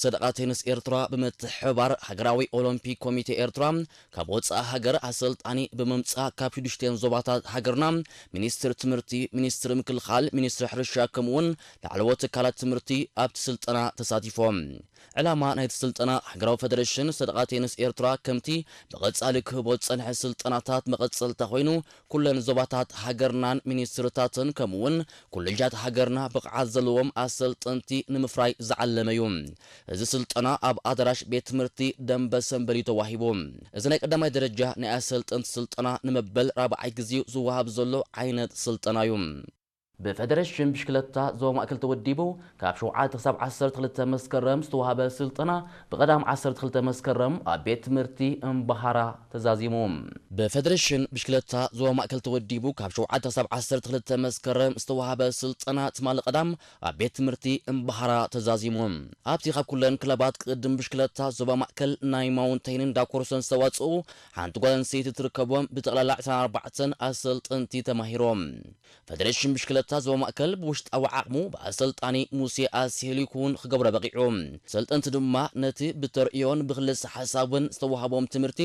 ሰደቓ ቴንስ ኤርትራ ብምትሕብባር ሃገራዊ ኦሎምፒክ ኮሚቴ ኤርትራ ካብ ወጻኢ ሃገር ኣሰልጣኒ ብምምጻእ ካብ ሽዱሽተን ዞባታት ሃገርና ሚኒስትር ትምህርቲ፣ ሚኒስትር ምክልኻል፣ ሚኒስትር ሕርሻ ከምኡውን ላዕለዎት ትካላት ትምህርቲ ኣብቲ ስልጠና ተሳቲፎም። ዕላማ ናይቲ ስልጠና ሃገራዊ ፈደሬሽን ሰደቓ ቴንስ ኤርትራ ከምቲ ብቐጻሊ ክህቦ ዝጸንሐ ስልጠናታት መቐጸልታ ኮይኑ ኩለን ዞባታት ሃገርናን ሚኒስትርታትን ከምኡውን ኮሌጃት ሃገርና ብቕዓት ዘለዎም ኣሰልጠንቲ ንምፍራይ ዝዓለመ እዩ። እዚ ስልጠና ኣብ ኣዳራሽ ቤት ትምህርቲ ደንበ ሰንበሊ ተዋሂቡ። እዚ ናይ ቀዳማይ ደረጃ ናይ ኣሰልጠንቲ ስልጠና ንመበል ራብዓይ ግዜኡ ዝወሃብ ዘሎ ዓይነት ስልጠና እዩ። ብፈደሬሽን ብሽክለታ ዞባ ማእከል ተወዲቡ ካብ ሸውዓተ ክሳብ ዓሰርተ ክልተ መስከረም ዝተዋህበ ስልጠና ብቐዳም ዓሰርተ ክልተ መስከረም ኣብ ቤት ትምህርቲ እምባሃራ ተዛዚሙ። ብፈደሬሽን ብሽክለታ ዞባ ማእከል ተወዲቡ ካብ ሸውዓተ ክሳብ ዓሰርተ ክልተ መስከረም ዝተዋህበ ስልጠና ትማሊ ቀዳም ኣብ ቤት ትምህርቲ እምባሃራ ተዛዚሙ። ኣብቲ ካብ ኩለን ክለባት ቅድም ብሽክለታ ዞባ ማእከል ናይ ማውንቴንን ዳኮርሶን ዝተዋጽኡ ሓንቲ ጓል ኣንስተይቲ ትርከቦም ብጠቕላላ ዕስራን ኣርባዕተን ኣሰልጠንቲ ተማሂሮም። ፈደሬሽን ብሽክለታ ዞባ ማእከል ብውሽጣዊ ዓቕሙ ብኣሰልጣኒ ሙሴ ኣስሄሊ ክውን ክገብሮ በቒዑ። ሰልጠንቲ ድማ ነቲ ብተርእዮን ብክልሰ ሓሳብን ዝተዋህቦም ትምህርቲ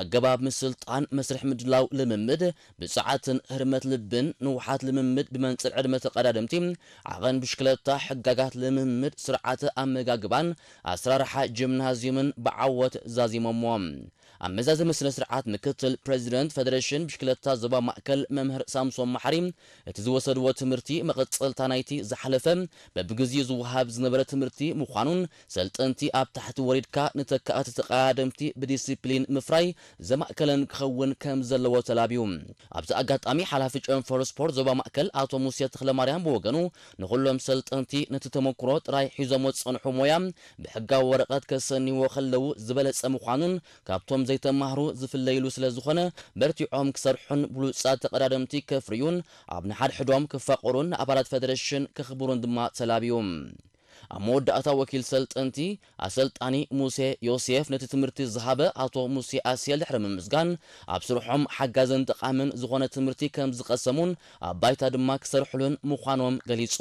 ኣገባብ ምስልጣን፣ መስርሕ ምድላው ልምምድ፣ ብጽዓትን ህርመት ልብን፣ ንውሓት ልምምድ ብመንጽር ዕድመ ተቐዳደምቲ፣ ዓቐን ብሽክለታ፣ ሕጋጋት ልምምድ፣ ስርዓተ ኣመጋግባን ኣሰራርሓ ጂምናዝዩምን ብዓወት ዛዚሞሞ። ኣብ መዛዘሚ ስነ ስርዓት ምክትል ፕሬዚደንት ፈደሬሽን ብሽክለታ ዞባ ማእከል መምህር ሳምሶን መሓሪ እቲ ዝወሰድዎ ትምህርቲ መቐጸልታ ናይቲ ዝሓለፈ በብግዜኡ ዝወሃብ ዝነበረ ትምህርቲ ምዃኑን ሰልጠንቲ ኣብ ታሕቲ ወሪድካ ንተካእቲ ተቐዳደምቲ ብዲሲፕሊን ምፍራይ ዘማእከለን ክኸውን ከም ዘለዎ ተላብዩ። ኣብዚ ኣጋጣሚ ሓላፊ ጨንፈር ስፖርት ዞባ ማእከል ኣቶ ሙሴ ተኽለማርያም ብወገኑ ንኹሎም ሰልጠንቲ ነቲ ተመክሮ ጥራይ ሒዞሞ ዝጸንሑ ሞያ ብሕጋዊ ወረቐት ከሰንይዎ ከለዉ ዝበለጸ ምዃኑን ካብቶም ዘይተማህሩ ዝፍለይሉ ስለ ዝኾነ በርቲዖም ክሰርሑን ብሉጻት ተቐዳደምቲ ከፍርዩን ኣብ ንሓድሕዶም ክፋቐሩን ንኣባላት ፈደረሽን ከኽብሩን ድማ ተላብዩ። ኣብ መወዳእታ ወኪል ሰልጠንቲ ኣሰልጣኒ ሙሴ ዮሴፍ ነቲ ትምህርቲ ዝሃበ ኣቶ ሙሴ ኣስየል ድሕሪ ምምስጋን ኣብ ስርሖም ሓጋዝን ጠቓምን ዝኾነ ትምህርቲ ከም ዝቐሰሙን ኣብ ባይታ ድማ ክሰርሕሉን ምዃኖም ገሊጹ።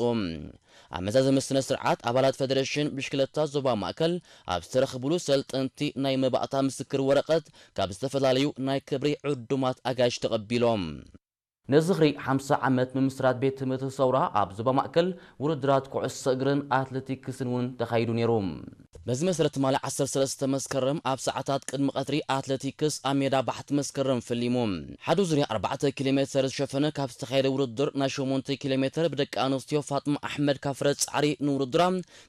ኣብ መዛዘሚ ስነ ስርዓት ኣባላት ፈደረሽን ብሽክለታ ዞባ ማእከል ኣብ ዝተረኽብሉ ሰልጠንቲ ናይ መባእታ ምስክር ወረቐት ካብ ዝተፈላለዩ ናይ ክብሪ ዕዱማት ኣጋይሽ ተቐቢሎም። ንዝኽሪ ሓምሳ ዓመት ምምስራት ቤት ትምህርቲ ሰውራ ኣብ ዞባ ማእከል ውድድራት ኩዕሶ እግርን ኣትሌቲክስን እውን ተኻይዱ ነይሩ። በዚ መሰረት ትማሊ ዓሰርተ ሰለስተ መስከረም ኣብ ሰዓታት ቅድሚ ቀትሪ ኣትሌቲክስ ኣብ ሜዳ ባሕቲ መስከረም ፈሊሙ። ሓደ ዙርያ ኣርባዕተ ኪሎ ሜተር ዝሸፈነ ካብ ዝተኻየደ ውድድር ናይ ሸሞንተ ኪሎ ሜተር ብደቂ ኣንስትዮ ፋጥማ ኣሕመድ ካብ ፍረ ጻዕሪ ንውድድራ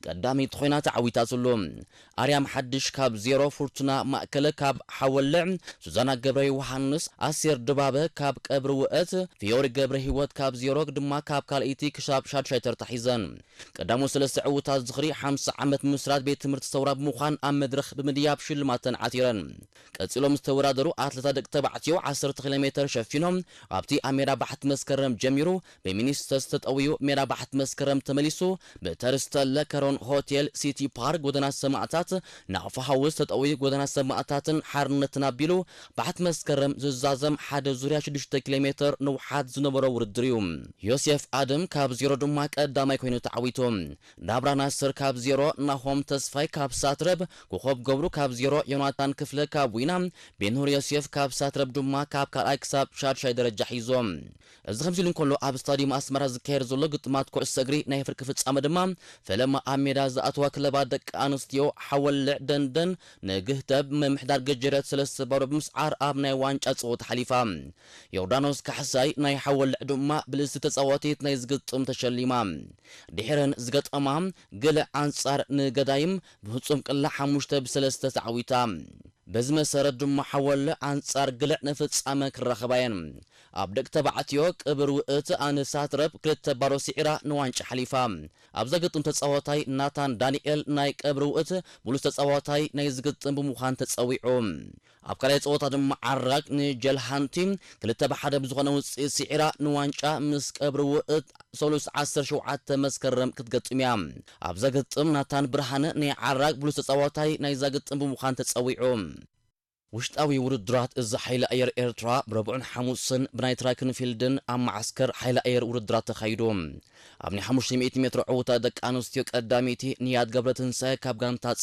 ቀዳመይቲ ኮይና ተዓዊታትሉ። ኣርያም ሓድሽ ካብ ዜሮ፣ ፍርቱና ማእከለ ካብ ሓወልዕ፣ ሱዛና ገብረ ዮሃንስ፣ ኣሴር ድባበ ካብ ቀብሪ ውእት፣ ፊዮሪ ገብረ ህይወት ካብ ዜሮ ድማ ካብ ካልኣይቲ ክሳብ ሻድሻይ ተርታ ሒዘን። ቀዳሞት ሰለስተ ዕዉታት ዝኽሪ ሓምሳ ዓመት ምስራት ቤት ትምህርቲ ሰውራ ብምዃን ኣብ መድረኽ ብምድያብ ሽልማተን ዓቲረን። ቀጺሎም ዝተወዳደሩ ኣትሌታት ደቂ ተባዕትዮ ዓሰርተ ኪሎ ሜተር ሸፊኖም ኣብቲ ኣብ ሜዳ ባሕቲ መስከረም ጀሚሩ ብሚኒስተርስ ተጠውዩ ሜዳ ባሕቲ መስከረም ተመሊሱ ብተርስተለ ከሮን ሆቴል ሲቲ ፓርክ ጎደና ሰማእታት ናቕፋ ሃውስ ተጠውዩ ጎደና ሰማእታትን ሓርነትን ኣቢሉ ባሕቲ መስከረም ዝዛዘም ሓደ ዙርያ ሽዱሽተ ኪሎ ሜተር ንውሓት ዝነበሮ ውድድር እዩ። ዮሴፍ ኣደም ካብ ዜሮ ድማ ቀዳማይ ኮይኑ ተዓዊቱ። ናብራ ናስር ካብ ዜሮ፣ ናሆም ተስፋይ ካብ ሳትረብ፣ ኮኾብ ገብሩ ካብ ዜሮ፣ ዮናታን ክፍለ ካብ ዊና፣ ቤንሁር ዮሴፍ ካብ ሳትረብ ድማ ካብ ካልኣይ ክሳብ ሻድሻይ ደረጃ ሒዞም። እዚ ከምዚ ኢሉ እንከሎ ኣብ ስታዲየም ኣስመራ ዝካየድ ዘሎ ግጥማት ኩዕሶ እግሪ ናይ ፍርቂ ፍጻመ ድማ ፈለማ ኣብ ሜዳ ዝኣተዋ ክለባት ደቂ ኣንስትዮ ሓወልዕ ደንደን ንግህተብ ምምሕዳር ገጀረት ሰለስተ ባዶ ብምስዓር ኣብ ናይ ዋንጫ ጸወታ ሓሊፋ። ዮርዳኖስ ካሕሳይ ናይ ሓወልዕ ድማ ብልጽቲ ተጻዋቲት ናይ ዝግጥም ተሸሊማ። ድሕረን ዝገጠማ ግልዕ ኣንጻር ንገዳይም ብፍጹም ቅላ ሓሙሽተ ብሰለስተ ተዓዊታ። በዚ መሰረት ድማ ሓወልዕ ኣንጻር ግልዕ ንፍጻመ ክራኸባ እየን። ኣብ ደቂ ተባዕትዮ ቅብር ውእት ኣንሳት ረብ ክልተ ባዶ ስዒራ ንዋንጫ ሓሊፋ። ኣብዛ ግጥም ተጻዋታይ ናታን ዳንኤል ናይ ቀብሪ ውእት ብሉጽ ተጻዋታይ ናይ ዝግጥም ብምዃን ተጸዊዑ። ኣብ ካልኣይ ጸወታ ድማ ዓራግ ንጀልሃንቲ ክልተ ብሓደ ብዝኾነ ውጽኢት ስዒራ ንዋንጫ ምስ ቀብሪ ውእት ሰሉስ ዓሰርተ ሸውዓተ መስከረም ክትገጥም እያ። ኣብዛ ግጥም ናታን ብርሃነ ናይ ዓራግ ብሉጽ ተጻዋታይ ናይዛ ግጥም ብምዃን ተጸዊዑ። ውሽጣዊ ውድድራት እዚ ሓይሊ ኣየር ኤርትራ ብረቡዕን ሓሙስን ብናይ ትራክ ን ፊልድን ኣብ መዓስከር ሓይሊ ኣየር ውድድራት ተኻይዱ። ኣብ ናይ ሓሙሽተ ሚእቲ ሜትሮ ዕውታ ደቂ ኣንስትዮ ቀዳመይቲ ንያት ገብረትንሳኤ ካብ ጋንታ